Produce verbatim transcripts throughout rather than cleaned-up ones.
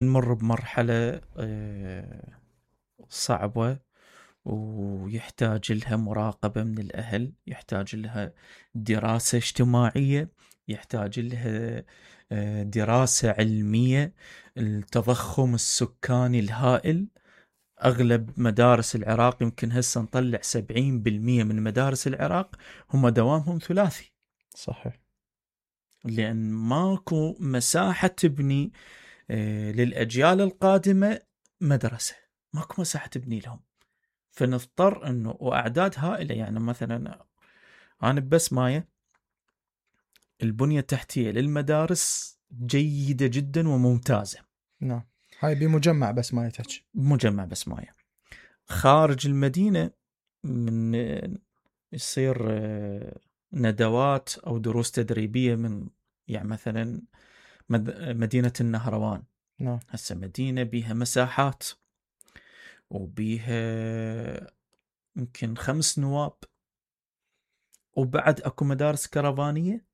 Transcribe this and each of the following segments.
نمر بمرحلة آه، صعبة، ويحتاج لها مراقبة من الأهل، يحتاج لها دراسة اجتماعية، يحتاج لها آه، دراسة علمية. التضخم السكاني الهائل، أغلب مدارس العراق يمكن هسه نطلع سبعين بالمية من مدارس العراق هم دوامهم ثلاثي. صحيح. لأن ماكو مساحة تبني آه، للأجيال القادمة مدرسة، ماكو مساحة تبني لهم، فنضطر أنه وأعداد هائلة. يعني مثلا أنا بس مايا البنية التحتية للمدارس جيدة جدا وممتازة. نعم، هاي بمجمع بس مايا تحكي. مجمع بس مايا. خارج المدينة من يصير آه، ندوات أو دروس تدريبية من يعني مثلا مدينة النهروان. نعم. هسه مدينة بيها مساحات وبيها يمكن خمس نواب، وبعد اكو مدارس كرفانية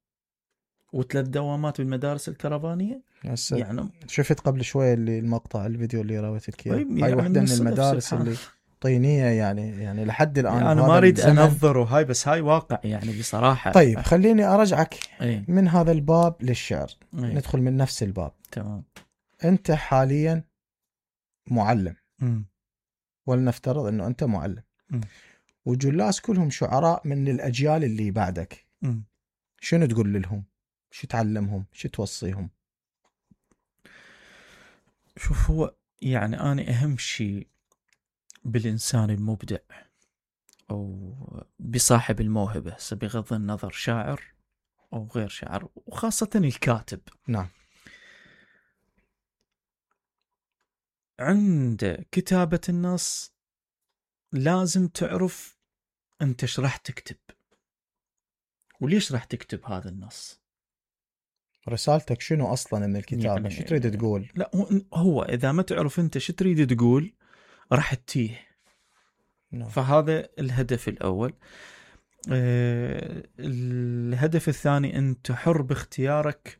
وثلاث دوامات بالمدارس الكرفانية. يعني شفت قبل شوية اللي المقطع الفيديو اللي راويتك اياه، يعني هاي واحدة من المدارس سبحان. اللي طينية يعني يعني لحد الآن يعني انا ما اريد انظر وهاي، بس هاي واقع يعني بصراحة. طيب خليني ارجعك ايه؟ من هذا الباب للشعر. ايه؟ ندخل من نفس الباب. تمام. انت حاليا معلم، مم. ولنفترض انه انت معلم، مم. وجلاس كلهم شعراء من الاجيال اللي بعدك. مم. شنو تقول لهم؟ شو تعلمهم؟ شو توصيهم؟ شوف، هو يعني انا اهم شيء بالانسان المبدع او بصاحب الموهبة، بغض النظر شاعر او غير شاعر، وخاصة الكاتب، نعم. عند كتابة النص لازم تعرف انت ايش راح تكتب وليش راح تكتب هذا النص. رسالتك شنو اصلا من الكتابة؟ يعني شو تريد تقول؟ لا، هو اذا ما تعرف انت شو تريد تقول راح تتيه. نعم. فهذا الهدف الاول. أه الهدف الثاني، انت حر باختيارك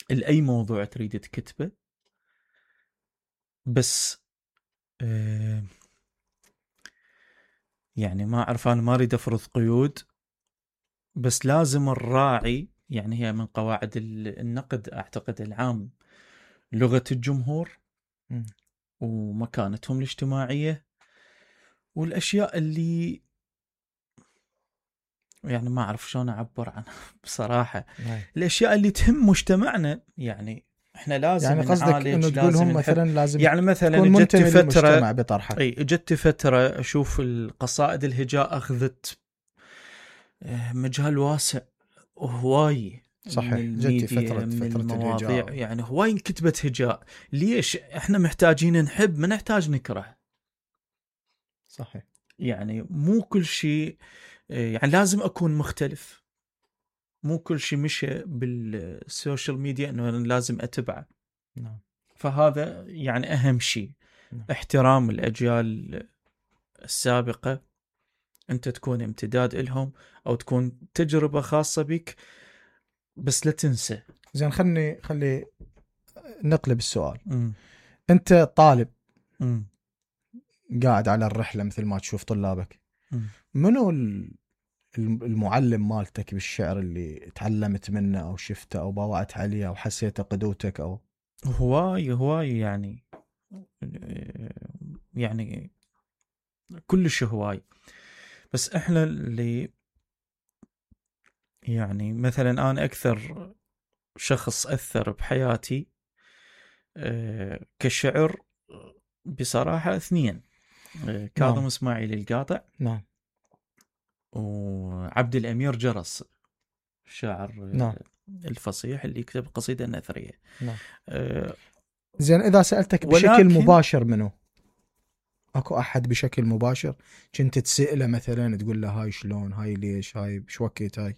لاي موضوع تريد تكتبه، بس أه يعني ما اعرف، انا ما اريد افرض قيود، بس لازم الراعي، يعني هي من قواعد النقد اعتقد العام، لغة الجمهور م. ومكانتهم الاجتماعية، والاشياء اللي يعني ما اعرف شلون اعبر عنها بصراحة. هاي. الاشياء اللي تهم مجتمعنا، يعني احنا لازم يعني قصدك نعالج، انه لازم تقولهم نحب. مثلا لازم يعني مثلا تكون جت منتمي فترة للمجتمع بطرحك. اي جت فترة اشوف القصائد الهجاء اخذت مجال واسع وهواي من صحيح. جتي الميديا، فترة من فترة المواضيع، الهجاء. يعني هواي انكتبت هجاء. ليش؟ احنا محتاجين نحب، ما نحتاج نكره. صحيح. يعني مو كل شيء، يعني لازم اكون مختلف. مو كل شيء مشى بالسوشيال ميديا انه لازم اتبعه. نعم. فهذا يعني اهم شيء. نعم. احترام الاجيال السابقة، انت تكون امتداد لهم او تكون تجربة خاصة بك، بس لا تنسى. زين، خلني خلي نقلب السؤال. م. انت طالب م. قاعد على الرحلة مثل ما تشوف طلابك، م. منو المعلم مالتك بالشعر اللي تعلمت منه او شفته او باوعت عليه او حسيته قدوتك؟ او هواي هواي يعني يعني كلش هواي. بس احنا اللي يعني مثلا انا اكثر شخص اثر بحياتي أه كشعر بصراحة اثنين، أه كاظم نعم. اسماعيل القاطع، نعم. وعبد الامير جرس، الشاعر نعم. الفصيح اللي يكتب قصيدة نثرية. نعم. أه زين، اذا سألتك بشكل ولكن مباشر منو؟ اكو احد بشكل مباشر كنت تسأله مثلا تقول له هاي شلون، هاي ليش، هاي بش وقت، هاي؟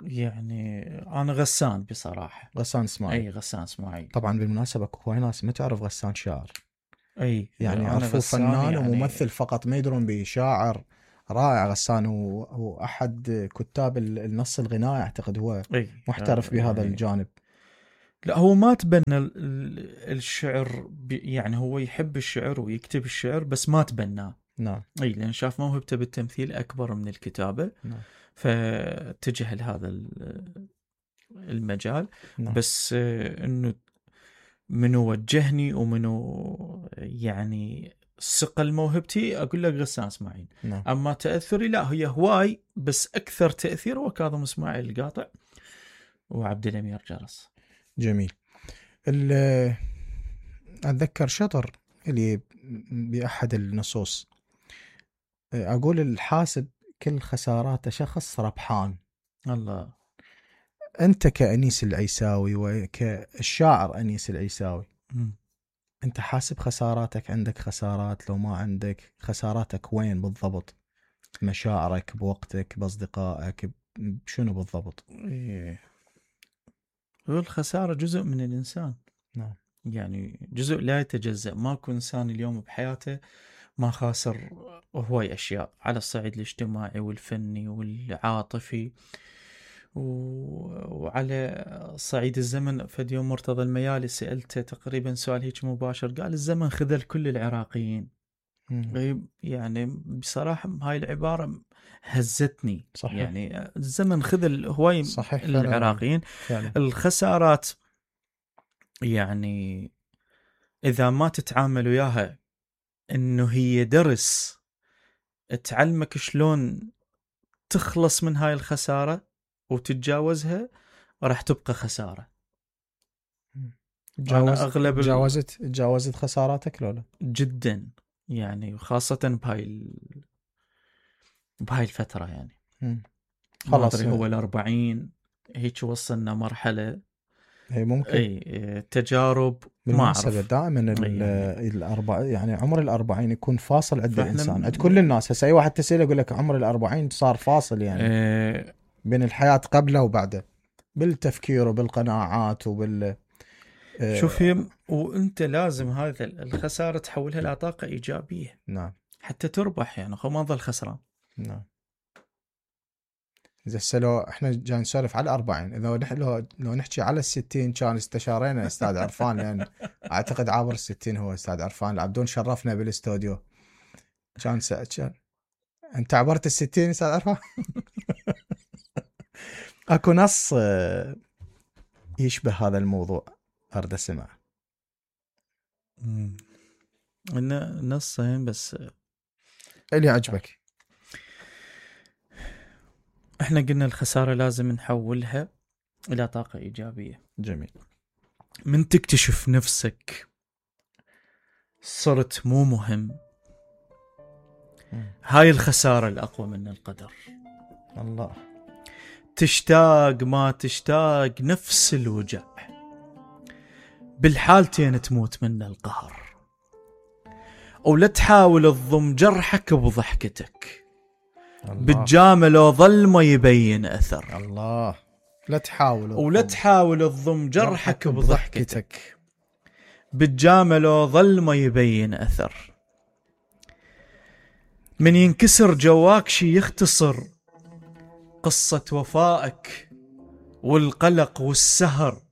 يعني انا غسان بصراحة. غسان اسماعيل. اي غسان اسماعيل. طبعا بالمناسبة اكو هواي ناس ما تعرف غسان شاعر، اي يعني انا يعرفوه غسان فنان يعني. وممثل فقط، ما يدرون بشاعر رائع. غسان هو, هو احد كتاب النص الغنائي، اعتقد هو اي محترف بهذا يعني الجانب. لا هو ما تبنى ال- ال- الشعر ب- يعني هو يحب الشعر ويكتب الشعر بس ما تبناه. نعم اي لان شاف موهبته بالتمثيل اكبر من الكتابة، نعم فاتجه لهذا ال- المجال. نعم بس آه، انه منو وجهني ومنو يعني صقل موهبتي، اقول لك غسان اسماعيل. نعم اما تاثري لا، هي هواي بس اكثر تاثير هو كاظم اسماعيل القاطع وعبد الامير جرس. جميل. ال- اتذكر شطر اللي باحد النصوص اقول الحاسب كل خساراته شخص ربحان. الله. انت كأنيس العيساوي وكالشاعر انيس العيساوي، مم. انت حاسب خساراتك؟ عندك خسارات؟ لو ما عندك خساراتك وين بالضبط؟ مشاعرك، بوقتك، باصدقائك، شنو بالضبط؟ إيه. هو الخسارة جزء من الإنسان. نعم يعني جزء لا يتجزأ. ماكو إنسان اليوم بحياته ما خاسر هواي أشياء على الصعيد الاجتماعي والفني والعاطفي و... وعلى صعيد الزمن. فد يوم مرتضى الميالي سألته تقريبا سؤال هيك مباشر، قال الزمن خذل كل العراقيين. مم. يعني بصراحة هاي العبارة هزتني. صحيح. يعني الزمن خذل هواي صحيح فعلا. العراقيين. فعلا. الخسارات يعني إذا ما تتعامل وياها إنه هي درس تعلمك شلون تخلص من هاي الخسارة وتتجاوزها، راح تبقى خسارة. تجاوز... أنا أغلب ال- تجاوزت تجاوزت خساراتك لو لا؟ جدا يعني، وخاصة بهاي ال... بهاي الفترة يعني. مم. ما خلاص أدري هو الأربعين هيك وصلنا مرحلة. هي ممكن. أي تجارب ما بالمناسبة أعرف دائما ال- يعني. الأربع يعني عمر الأربعين يكون فاصل عند فإحنا الإنسان، م- عند كل الناس. هسه أي واحد تسأله يقول لك عمر الأربعين صار فاصل يعني آه، بين الحياة قبله وبعده، بالتفكير وبالقناعات وبال آه، شوف هي وانت لازم هذا الخسارة تحولها إلى طاقة إيجابية نعم حتى تربح. يعني خو ما ظل خسران. نعم. إذا هسه لو احنا جاي نسولف على الأربعين، إذا نح- لو لو نحكي على الستين كان استشارينا أستاذ عرفان، لأن أعتقد عابر الستين هو أستاذ عرفان العبدون، شرفنا بالاستوديو. كان س... كان أنت عبرت الستين أستاذ عرفان؟ أكو نص آه، يشبه هذا الموضوع أرد أسمع. إنه نصين بس. اللي عجبك. احنا قلنا الخسارة لازم نحولها إلى طاقة إيجابية. جميل. من تكتشف نفسك صرت مو مهم، مم. هاي الخسارة الأقوى من القدر. الله. تشتاق ما تشتاق نفس الوجع، بالحالتين تموت من القهر. ولا تحاول تضم جرحك بضحكتك، الله. بالجامل لو ظل ما يبين أثر. الله. لا تحاول ولا تحاول تضم جرحك بضحكتك، بضحكتك. بالجامل لو ظل ما يبين أثر. من ينكسر جواك شي يختصر قصة وفائك والقلق والسهر.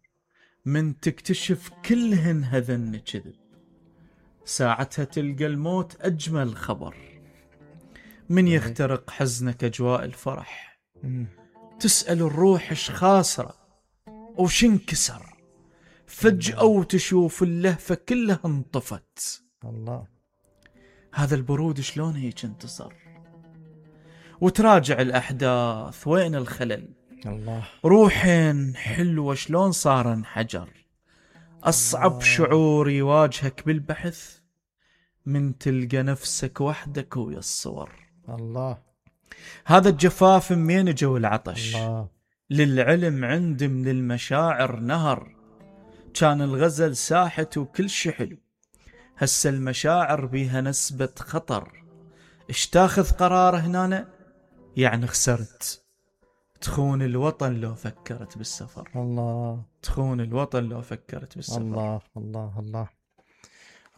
من تكتشف كلهن هذن كذب، ساعتها تلقى الموت أجمل خبر. من يخترق حزنك أجواء الفرح، مم. تسأل الروح إيش خاسرة وش انكسر. فجأة وتشوف اللهفة كلها انطفت. الله. هذا البرود شلون هيك انتصر. وتراجع الأحداث وين الخلل. الله. روحين حلوة شلون صار انحجر. أصعب شعور يواجهك بالبحث من تلقى نفسك وحدك ويا الصور. الله. هذا الجفاف منين جو العطش. الله. للعلم عندي من المشاعر نهر. كان الغزل ساحت وكل شي حلو، هسه المشاعر بيها نسبة خطر. اش تاخذ قرار هنا يعني خسرت. تخون الوطن لو فكرت بالسفر. الله. تخون الوطن لو فكرت بالسفر. الله. الله. الله.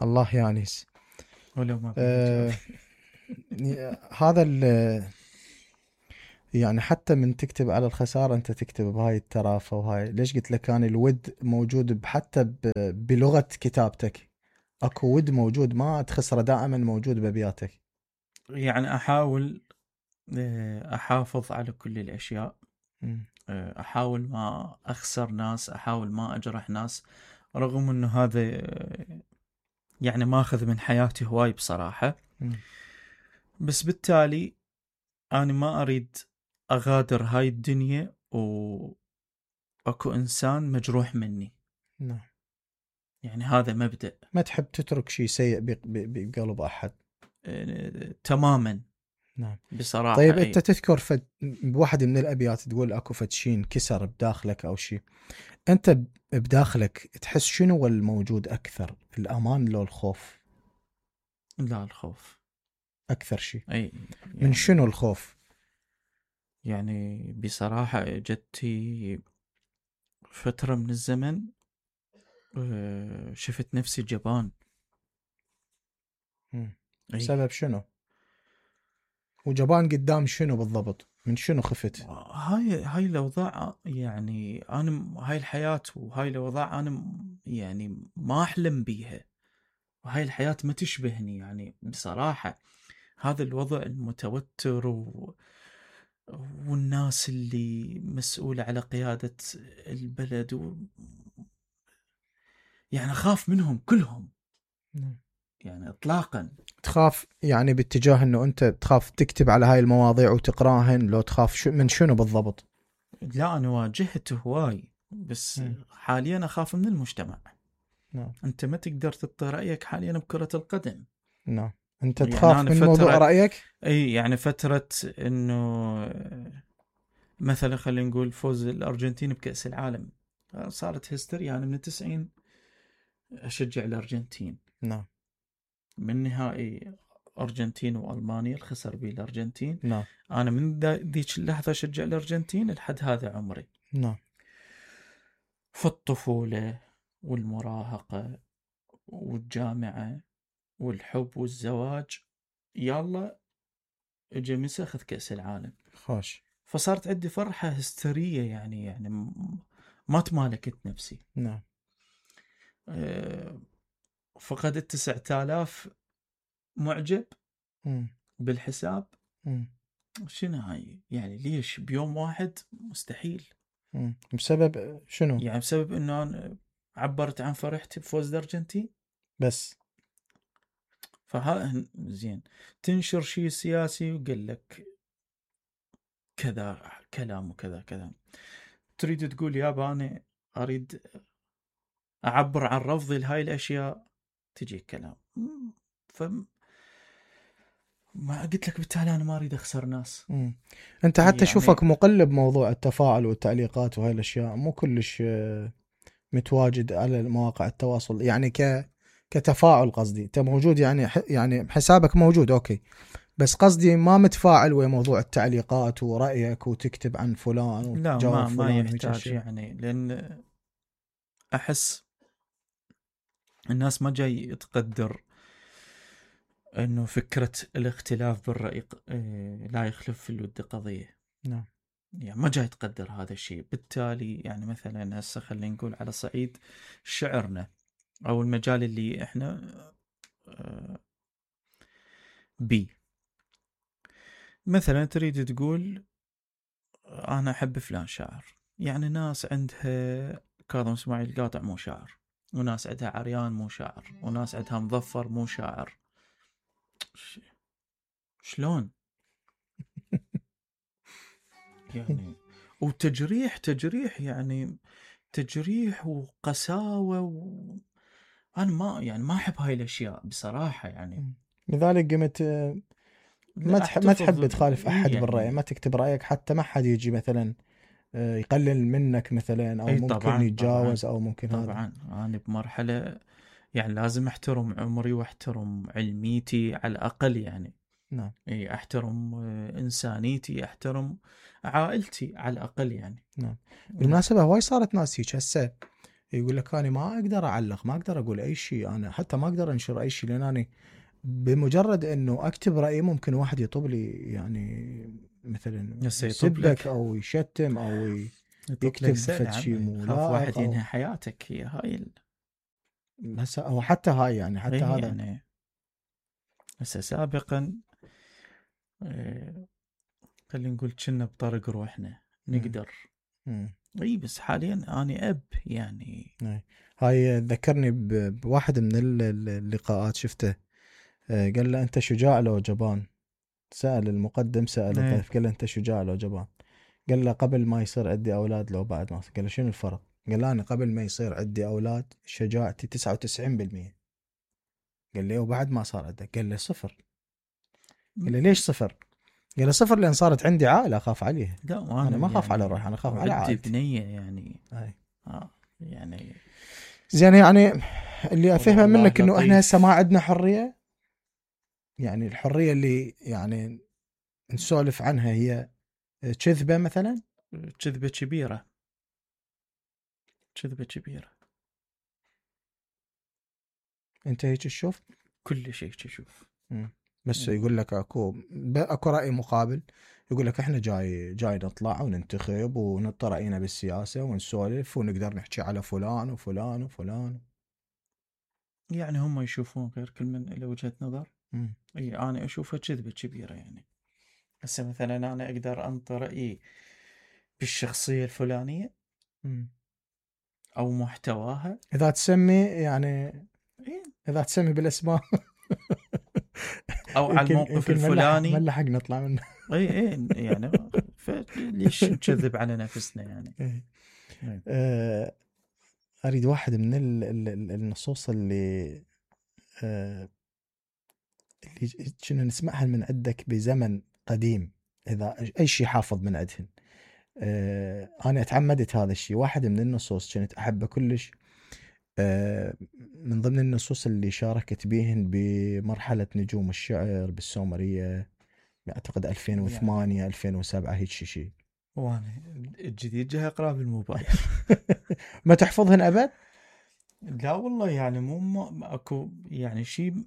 الله يا أنيس. ولو ما آه هذا ال يعني حتى من تكتب على الخسارة أنت تكتب بهاي الترافة وهاي. ليش قلت لك كان الود موجود حتى بلغة كتابتك، أكو ود موجود ما تخسره، دائما موجود بأبياتك. يعني أحاول أحافظ على كل الأشياء، أحاول ما أخسر ناس، أحاول ما أجرح ناس، رغم أنه هذا يعني ما أخذ من حياتي هواي بصراحة. بس بالتالي أنا ما أريد أغادر هاي الدنيا وأكو إنسان مجروح مني. نعم. يعني هذا مبدأ. ما تحب تترك شيء سيء بقلب أحد. أه تماما. نعم بصراحة. طيب أنت تذكر فد بواحد من الأبيات تقول أكو فتشين كسر بداخلك أو شيء، أنت بداخلك تحس شنو هو الموجود أكثر، الأمان لو الخوف؟ لا الخوف أكثر شيء. أي يعني من شنو الخوف؟ يعني بصراحة جدتي فترة من الزمن شفت نفسي جبان. سبب شنو؟ وجبان قدام شنو بالضبط؟ من شنو خفت؟ هاي هاي الأوضاع، يعني أنا هاي الحياة وهاي الأوضاع أنا يعني ما أحلم بيها، وهاي الحياة ما تشبهني يعني بصراحة. هذا الوضع المتوتر و... والناس اللي مسؤولة على قيادة البلد و... يعني أخاف منهم كلهم. يعني إطلاقا. تخاف يعني باتجاه أنه أنت تخاف تكتب على هاي المواضيع وتقراهن، لو تخاف شو من شنو بالضبط؟ لا أنا واجهت هواي، بس م. حاليا أخاف من المجتمع. نعم. أنت ما تقدر تعطي رأيك حاليا بكرة القدم. نعم. أنت تخاف يعني من موضوع رأيك؟ أي يعني فترة أنه مثلا خلينا نقول فوز الأرجنتين بكأس العالم صارت هستيريا. يعني من التسعين أشجع الأرجنتين. نعم. من نهائي أرجنتين وألمانيا الخسر بيه الأرجنتين. نعم. أنا من ذيك اللحظة أشجع الأرجنتين لحد هذا عمري. نعم. في الطفولة والمراهقة والجامعة والحب والزواج، يلا اجى مسخ كأس العالم. خوش. فصارت عندي فرحة هستيرية، يعني يعني ما تمالكت نفسي. نعم. أه فقدت تسعة آلاف معجب م. بالحساب. م. شنو هاي يعني؟ ليش بيوم واحد؟ مستحيل. م. بسبب شنو؟ يعني بسبب انه انا عبرت عن فرحتي بفوز الارجنتين بس. فها زين تنشر شيء سياسي وقال لك كذا كلام وكذا كذا، تريد تقول يابا انا اريد اعبر عن رفضي لهاي الاشياء، تجي كلام. ف ما قلت لك بالتالي انا ما اريد اخسر ناس. مم. انت حتى يعني شوفك مقلب موضوع التفاعل والتعليقات وهاي الاشياء، مو كلش متواجد على مواقع التواصل يعني ك كتفاعل قصدي. انت موجود يعني ح... يعني حسابك موجود اوكي، بس قصدي ما متفاعل ويا موضوع التعليقات ورأيك وتكتب عن فلان لا وتجاوب ما فلان ما يحتاج يعني، لان احس الناس ما جاي تقدر انه فكرة الاختلاف بالرأي لا يخلف في الود قضية. نعم. يعني ما جاي تقدر هذا الشيء. بالتالي يعني مثلا هسه خلينا نقول على صعيد شعرنا او المجال اللي احنا بي، مثلا تريد تقول انا احب فلان شاعر، يعني ناس عندها كاظم اسماعيل القاطع مو شاعر، وناس عندها عريان مو شاعر، وناس عندها مظفر مو شاعر. شلون يعني؟ وتجريح تجريح يعني تجريح وقساوة و... أنا ما يعني ما أحب هاي الأشياء بصراحة يعني. لذلك قمت ما تحب ما تحب تخالف أحد يعني بالرأي، ما تكتب رأيك حتى ما حد يجي مثلا يقلل منك مثلا أو ممكن طبعاً يتجاوز طبعاً أو ممكن طبعاً هذا. طبعا أنا بمرحلة يعني لازم أحترم عمري وأحترم علميتي على الأقل يعني. نعم. إيه أحترم إنسانيتي، أحترم عائلتي على الأقل يعني. نعم. بالمناسبة هواي صارت ناس هيك هسه يقول لك أنا ما أقدر أعلق، ما أقدر أقول أي شيء، أنا حتى ما أقدر أنشر أي شيء، لأن أنا بمجرد إنه أكتب رأيي ممكن واحد يطب لي يعني مثلا هسه يطب لك. يسبك او يشتم او ي- يطب يكتب لك سنة فد شي عمي. مو خاف واحد لائق أو- ينهي حياتك، هي هاي ال... هسه او حتى هاي يعني حتى إيه هذا يعني هسه سابقا آه، خلينا نقول كنا بطريق روحنا نقدر. مم. اي بس حاليا انا اب يعني. هاي هاي ذكرني ب- بواحد من ال- ال- اللقاءات شفته. آه، قال له انت شجاع لو جبان. سأل المقدم سأل إيه. الضيف قال له انت شجاع لو جبان. قال له قبل ما يصير عندي اولاد لو بعد ما قال له شنو الفرق؟ قال له انا قبل ما يصير عندي اولاد شجاعتي تسعة وتسعين بالمية. قال لي وبعد ما صار عندك؟ قال له صفر. قال له ليش صفر؟ قال له صفر لان صارت عندي عائله اخاف عليها. لا وانا انا ما اخاف يعني على روحي انا اخاف على عندي عائلتي. بنيه يعني. هاي. اه يعني زين يعني اللي افهمه والله منك انه احنا لطيف. هسه ما عندنا حريه. يعني الحريه اللي يعني نسولف عنها هي كذبه مثلا. كذبه كبيره، كذبه كبيره. انت هيك تشوف؟ كل شيء تشوف. مم. بس مم. يقول لك اكو ب- اكو راي مقابل. يقول لك احنا جاي جاي نطلع وننتخب ونطر راينا بالسياسه ونسولف ونقدر نحكي على فلان وفلان وفلان. يعني هم يشوفون غير، كل من له وجهه نظر. مم. اي انا اشوفها كذبه كبيره يعني. هسه مثلا انا اقدر انطي رايي بالشخصيه الفلانيه مم. او محتواها. اذا تسمي يعني إيه. اذا تسمي بالاسماء او على يمكن الموقف يمكن ملح الفلاني. ملحق نطلع منه. اي اي يعني فليش نكذب على نفسنا يعني. إيه. إيه. آه، اريد واحد من ال- ال- ال- النصوص اللي آه، اللي كنا نسمعها من عندك بزمن قديم. اذا اي شيء حافظ من عندهن. آه، انا اتعمدت هذا الشيء. واحد من النصوص كنت احبه كلش. آه، من ضمن النصوص اللي شاركت بيهن بمرحلة نجوم الشعر بالسومرية. اعتقد ألفين وثمانية يعني ألفين وسبعة هيك شيء. وانا الجديد جاي اقراه بالموبايل. ما تحفظهن ابد؟ لا والله يعني مو ما اكو يعني شيء.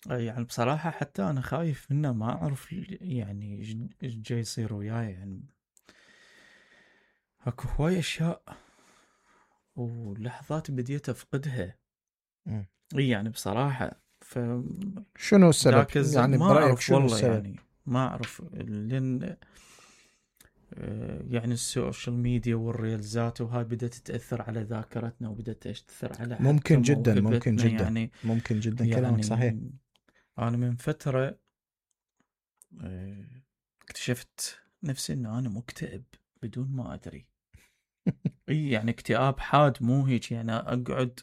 يعني بصراحة حتى انا خايف منه، ما اعرف يعني ايش إيش جاي يصير وياي يعني. اكو هواي اشياء ولحظات بديت افقدها. مم. اي يعني بصراحة ف شنو السبب؟ ذاك الز... يعني ما برأيك اعرف شنو والله السبب؟ يعني ما اعرف لان آه، يعني السوشيال ميديا والريلزات وهاي بدأت تأثر على ذاكرتنا وبدأت تأثر على حتى ممكن جدا ممكن موهبتنا جدا يعني. ممكن جدا كلامك يعني صحيح. أنا من فترة آه، اكتشفت نفسي إنه أنا مكتئب بدون ما أدري. إي يعني اكتئاب حاد، مو هيك يعني أقعد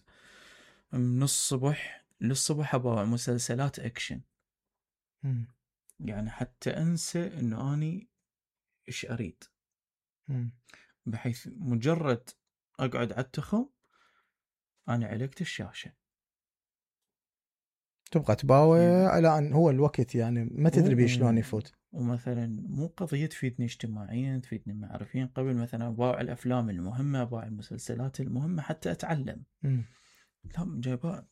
من الصبح للصبح أبغى مسلسلات أكشن. مم. يعني حتى أنسى إنه أني إيش أريد، مم. بحيث مجرد أقعد على التخم أنا علقت الشاشة. تبقى تباوع يعني على ان هو الوقت يعني ما تدري بيه شلون و... يفوت. ومثلا مو قضية تفيدني اجتماعيا تفيدني معرفيا، قبل مثلا أباوع الأفلام المهمة أباوع المسلسلات المهمة حتى أتعلم. مم. لا جايبها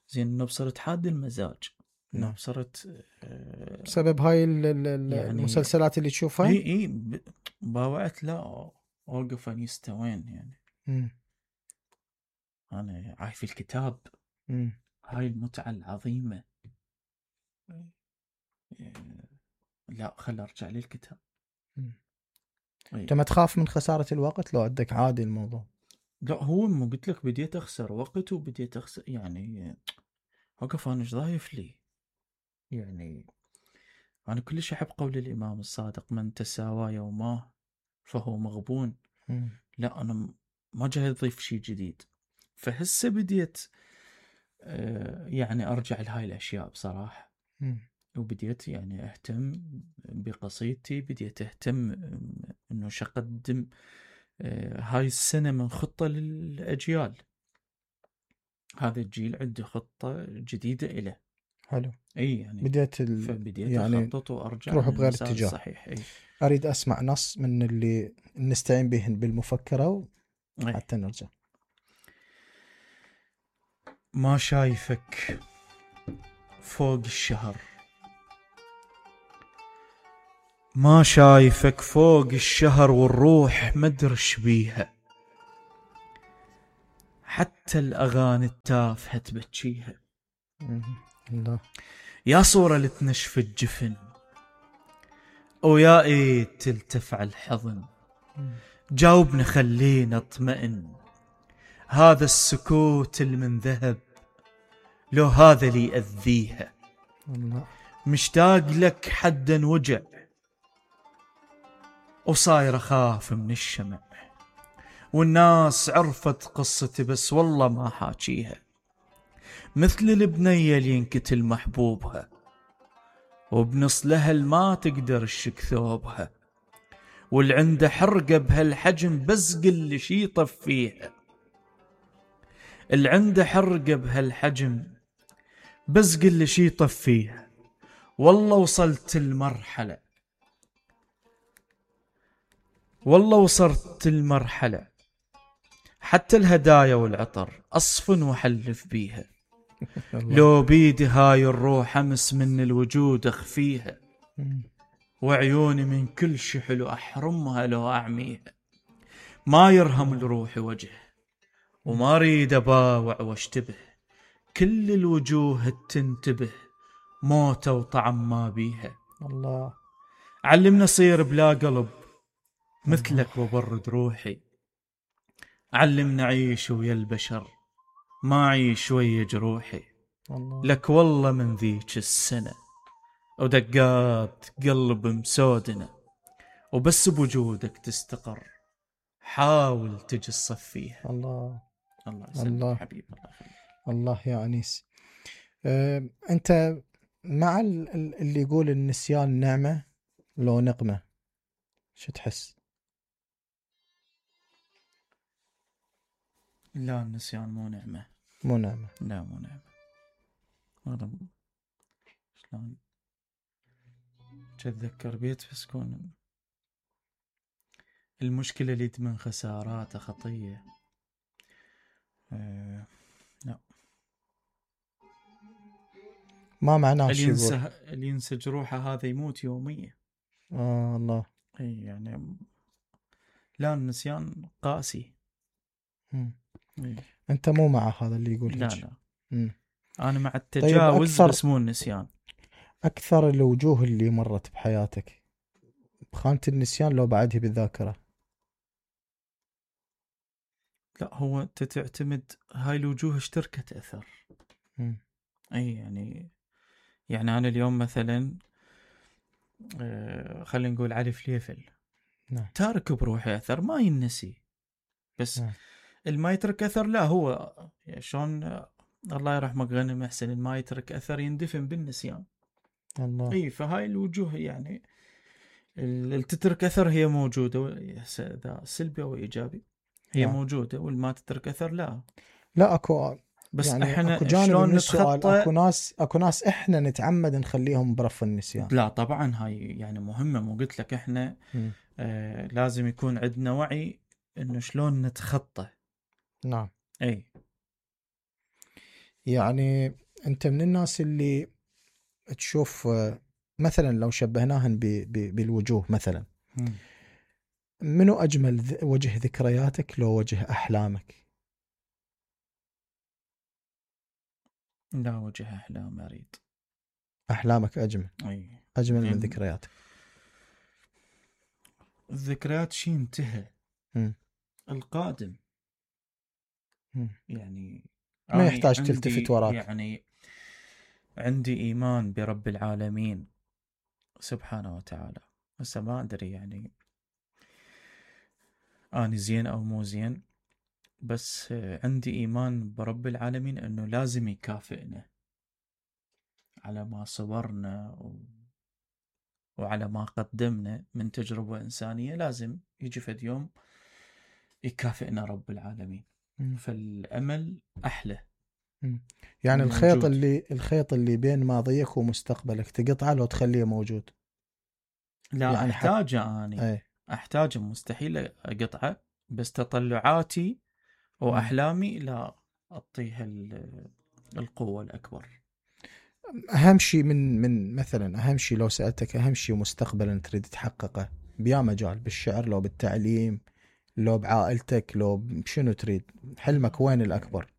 زين إنه بصرت حاد المزاج، إنه نعم. بصرت آه بسبب هاي ال- ال- ال- يعني المسلسلات اللي تشوفها. إي إي ب- باوعت لا أوقف أن يستوين يعني. مم. أنا عايف الكتاب، مم. هاي المتعة العظيمة. آه، لا خل أرجع للكتاب. مم. إي. انت ما تخاف من خسارة الوقت لو عندك عادي الموضوع؟ لا هو مو قلت لك بديت اخسر وقت وبديت اخسر يعني. وقف انا ايش ضايف لي يعني. انا كلش احب قول الامام الصادق من تساوى يوماه فهو مغبون. مم. لا انا م- ما جاي اضيف شيء جديد. فهسه بديت آه، يعني ارجع لهاي الاشياء بصراحة. مم. وبديت يعني اهتم بقصيدتي، بديت اهتم آه، انه شو اقدم آه، هاي السنة من خطة للاجيال. هذا الجيل عنده خطة جديدة إله. حلو. اي يعني بديت ال... فبديت يعني اخطط وارجع تروح بغير للمسار اتجاه. الصحيح. اي اريد اسمع نص من اللي نستعين بهن بالمفكرة اي حتى نرجع. ما شايفك فوق الشهر، ما شايفك فوق الشهر والروح مدرش بيها، حتى الأغاني التافهة تبكيها. الله. يا صورة لتنشف الجفن ويا ايد تلتف على الحضن، جاوبنا خلينا اطمئن، هذا السكوت المن ذهب لو هذا لي يأذيها. الله. مشتاق لك حدا وجع وصاير أخاف من الشمع، والناس عرفت قصتي بس والله ما حاكيها، مثل البنية اللي ينكتل محبوبها وبنص لهل ما تقدر الشك ثوبها، واللي عنده حرقة بهالحجم بس قل شي يطفيها، اللي عنده حرقة بهالحجم بس قل شي يطفيها. والله وصلت المرحلة والله وصلت المرحلة حتى الهدايا والعطر أصفن وحلف بيها، لو بيدي هاي الروح أمس من الوجود أخفيها، وعيوني من كل شي حلو أحرمها لو أعميها. ما يرهم لروحي وجه وما ريد أباوع واشتبه، كل الوجوه تنتبه موته وطعم ما بيها. الله. علمنا صير بلا قلب مثلك وبرد روحي، علمنا عيش ويا البشر ما عيش ويا جروحي. الله. لك والله من ذيك السنة ودقات قلب مسودنا، وبس بوجودك تستقر حاول تجي الصفيها. الله. الله يسلمك حبيب. الله يخليك. الله يا أنيس. أه، أنت مع اللي يقول النسيان نعمة لو نقمة، شو تحس؟ لا، النسيان مو نعمة. مو نعمة. لا مو نعمة. هذا شلون تتذكر بيت بس كون المشكلة اللي تمن خساراته خطية. أه لا، ما معناه اللي شو ينسى يقول. اللي ينسى جروحه هذا يموت يوميا. آه الله. اي يعني لا، النسيان قاسي. إيه. انت مو مع هذا اللي يقول لا هيك. لا مم. انا مع التجاوز. طيب بس مو النسيان. اكثر الوجوه اللي مرت بحياتك بخانة النسيان لو بعدها بالذاكرة؟ لا، هو انت تعتمد هاي الوجوه اشتركت اثر. مم. اي يعني يعني انا اليوم مثلا آه خلينا نقول علي فليفل. نعم. تارك بروحي اثر ما ينسي، بس نعم. الما يترك اثر لا، هو شلون الله يرحمه غنم محسن، الما يترك اثر يندفن بالنسيان. الله. اي فهاي الوجوه يعني اللي تترك اثر هي موجوده، سلبي او ايجابي هي نعم. موجوده، والما تترك اثر لا. لا اكو بس يعني احنا اكو جانب شلون من السؤال، نتخطى؟ اكو ناس اكو ناس احنا نتعمد نخليهم برف النسيان. لا طبعا هاي يعني مهمه، مو قلت لك احنا آه لازم يكون عندنا وعي انه شلون نتخطى. نعم. اي يعني انت من الناس اللي تشوف مثلا لو شبهناهن بالوجوه مثلا، م. منو اجمل وجه ذكرياتك لو وجه احلامك؟ لا، وجه احلام اريد. احلامك اجمل. اي اجمل من يعني ذكرياتك. الذكريات شي انتهى. م. القادم م. يعني ما يحتاج تلتفت وراك. يعني عندي إيمان برب العالمين سبحانه وتعالى. بس ما أدري يعني أنا زين أو مو زين، بس عندي إيمان برب العالمين أنه لازم يكافئنا على ما صبرنا و... وعلى ما قدمنا من تجربة إنسانية. لازم يجي فد يوم يكافئنا رب العالمين. م. فالأمل أحلى. يعني الخيط موجود. اللي الخيط اللي بين ماضيك ومستقبلك تقطعه لو تخليه موجود. لا يعني أحتاجه حت... أنا أي. أحتاجه، مستحيل أقطعه، بس تطلعاتي وأحلامي لا أعطيها القوة الأكبر. اهم شيء من من مثلا اهم شيء لو سالتك اهم شيء مستقبلا تريد تحققه بيا مجال، بالشعر لو بالتعليم لو بعائلتك لو بشنو تريد؟ حلمك وين الاكبر؟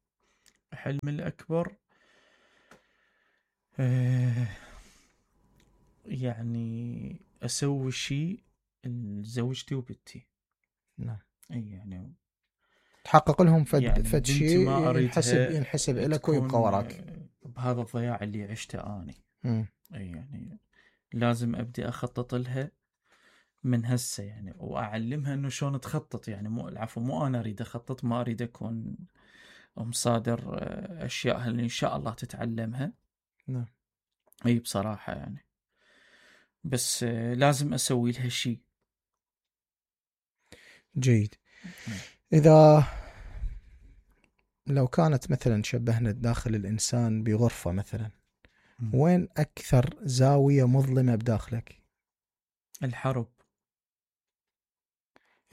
حلمي الاكبر آه يعني اسوي شيء لزوجتي وبنتي. نعم. اي يعني تحقق لهم فد يعني فد بنتي شيء ما ينحسب اريدها ينحسب لك ويبقى تكون وراك. بهذا الضياع اللي عشته اني. مم. اي يعني لازم ابدي اخطط لها من هسه يعني، واعلمها انه شلون تخطط يعني. مو العفو مو انا اريد اخطط، ما اريد اكون مصادر اشياء اللي ان شاء الله تتعلمها. نعم. اي بصراحة يعني بس لازم اسوي لها شيء. جيد. اذا لو كانت مثلا شبهنا داخل الانسان بغرفة مثلا، وين اكثر زاوية مظلمة بداخلك؟ الحرب.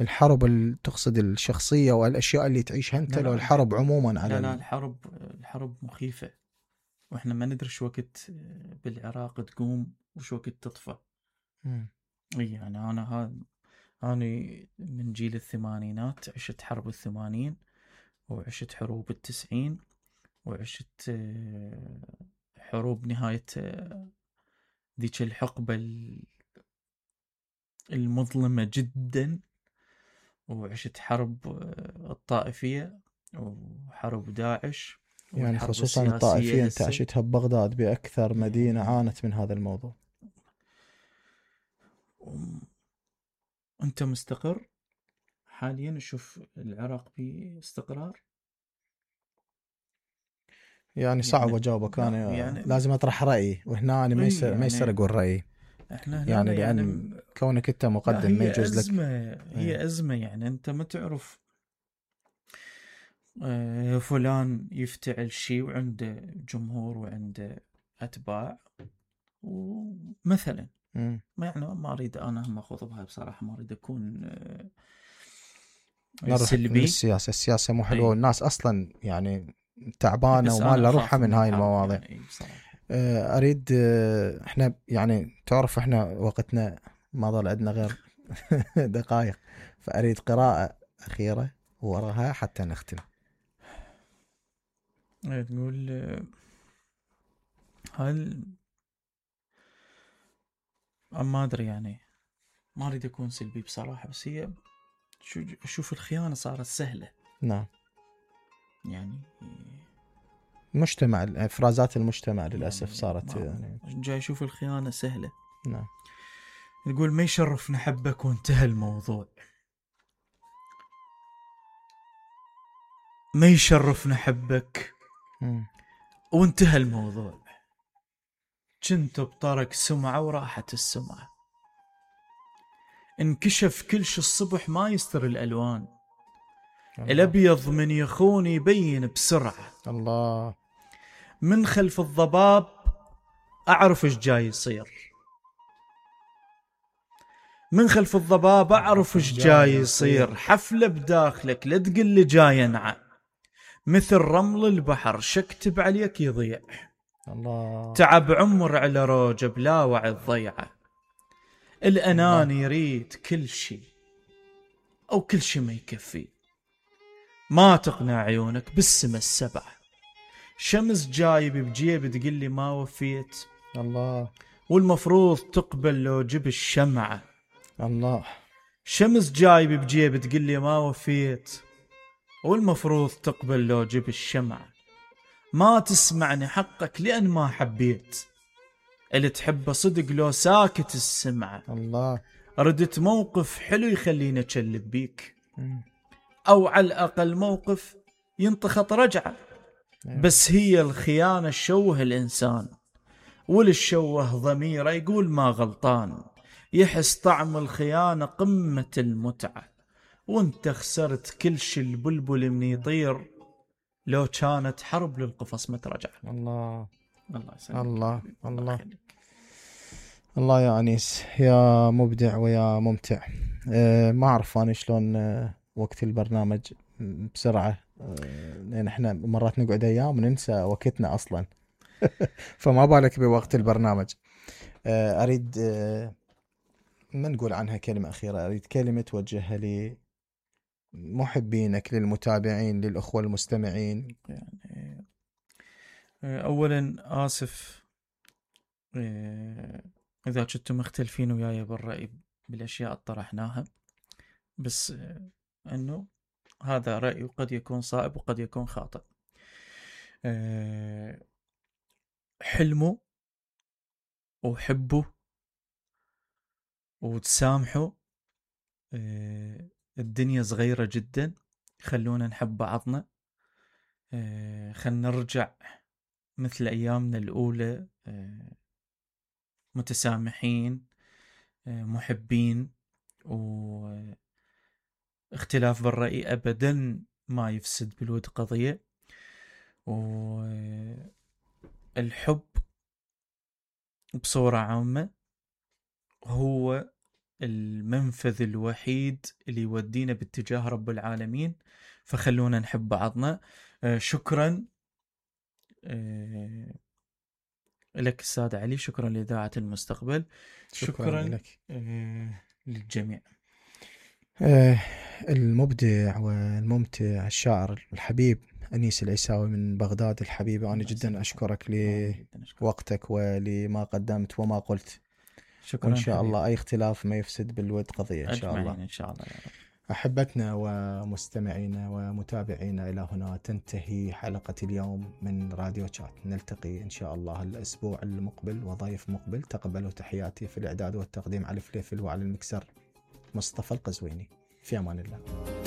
الحرب ال- تقصد الشخصية والاشياء اللي تعيشها انت، لا لا لو الحرب عموما على لا لا ال... الحرب الحرب مخيفة، واحنا ما ندري شو وقت بالعراق تقوم وشو وقت تطفى. مم. اي يعني انا هذا انا من جيل الثمانينات، عشت حرب الثمانين وعشت حروب التسعين وعشت آه، حروب نهاية آه، ذيك الحقبة المظلمة جدا، وعشت حرب آه، الطائفية وحرب داعش يعني والحرب خصوصا السياسية الطائفية انت هسه. عشتها ببغداد، باكثر مدينة يعني عانت من هذا الموضوع. انت مستقر حاليا؟ نشوف العراق باستقرار يعني صعب يعني. اجاوبك، لا انا يعني لازم اطرح رايي، وهنا انا ما اي يصير ما يصير يعني اقول رايي. احنا هنا يعني يعني لان كونك انت لا مقدم ما هي يجوز لك. أزمة، ايه. هي أزمة يعني. أنت ما تعرف آه، فلان يفتعل شيء وعنده جمهور وعنده أتباع ومثلا مم. ما يعني ما أريد أنا هم أخوض بهاي بصراحة، ما أريد أكون آه، نروح من سلبي. السياسة، السياسة مو حلوة، أي والناس اصلا يعني تعبانة بس وما أنا لها روحها أخاف من من هاي الحرب المواضيع. يعني. أي بصراحة آه، اريد آه، احنا يعني تعرف احنا وقتنا ما ظل عندنا غير دقائق، فاريد قراءة اخيرة وراها حتى نختم. تقول آه، هل ما أدري يعني، ما أريد أكون سلبي بصراحة، بس هي شو أشوف الخيانة صارت سهلة نعم. يعني. مجتمع افرازات المجتمع للاسف يعني صارت ما يعني. جاي اشوف الخيانة سهلة. نعم. نقول ما يشرفنا حبك وانتهى الموضوع، ما يشرفنا حبك مم. وانتهى الموضوع. كنت بطرق سمعة وراحت السمعة، انكشف كل شي الصبح ما يستر الألوان. الله. الأبيض من يخون يبين بسرعة، الله. من خلف الضباب أعرف إيش جاي يصير. من خلف الضباب أعرف إيش جاي يصير. حفلة بداخلك لا تقل لي جاي ينعى، مثل رمل البحر شكتب عليك يضيع. الله. تعب عمر على روجه بلا وعي الضيعة. الأنان يريد كل شي أو كل شي ما يكفي، ما تقنع عيونك بالسما السبعة. شمس جايب بجيب تقول لي ما وفيت، الله. والمفروض تقبل لو جب الشمعة. الله. شمس جايب بجيب تقول لي ما وفيت، والمفروض تقبل لو جب الشمعة. ما تسمعني حقك لأن ما حبيت، اللي تحبه صدق لو ساكت السمعة. الله. ردت موقف حلو يخليني أتشلب بيك، مم. أو على الأقل موقف ينتخط رجعة. أيوة. بس هي الخيانة شوه الإنسان، والشوه ضميره يقول ما غلطان. يحس طعم الخيانة قمة المتعة، وانت خسرت كل شي البلبل من يطير، لو كانت حرب للقفص مترجع. الله. الله يسلمك. الله. الله الله. يخليك. الله يا أنيس، يا مبدع ويا ممتع. أه ما أعرف أنا شلون أه وقت البرنامج بسرعة، أه لأن إحنا مرات نقعد أيام ننسى وقتنا أصلا. فما بالك بوقت البرنامج. اريد ما نقول عنها كلمة أخيرة، اريد كلمة توجهها لمحبينك، للمتابعين، للأخوة المستمعين. يعني اولا اسف اذا كنتم مختلفين وياي بالرأي بالاشياء اللي طرحناها، بس انه هذا رأي وقد يكون صائب وقد يكون خاطئ. حلموا وحبوا وتسامحوا، الدنيا صغيرة جدا، خلونا نحب بعضنا، خلنا نرجع مثل أيامنا الأولى، متسامحين محبين، واختلاف بالرأي أبدا ما يفسد بالود قضية. والحب بصورة عامة هو المنفذ الوحيد اللي يودينا باتجاه رب العالمين، فخلونا نحب بعضنا. شكرا لك أستاذ علي، شكرا لإذاعة المستقبل، شكرا, شكرا لك للجميع. المبدع والممتع الشاعر الحبيب أنيس العيساوي من بغداد الحبيبة، أنا جدا أشكرك لوقتك ولما قدمت وما قلت. شكرا. وإن شاء حبيب. الله أي اختلاف ما يفسد بالود قضية إن شاء الله. إن شاء الله يا رب. أحبتنا ومستمعينا ومتابعينا، إلى هنا تنتهي حلقة اليوم من راديو شات. نلتقي إن شاء الله الأسبوع المقبل وضيف مقبل. تقبلوا تحياتي. في الإعداد والتقديم علي فليفل، وعلى المكسر مصطفى القزويني. في أمان الله.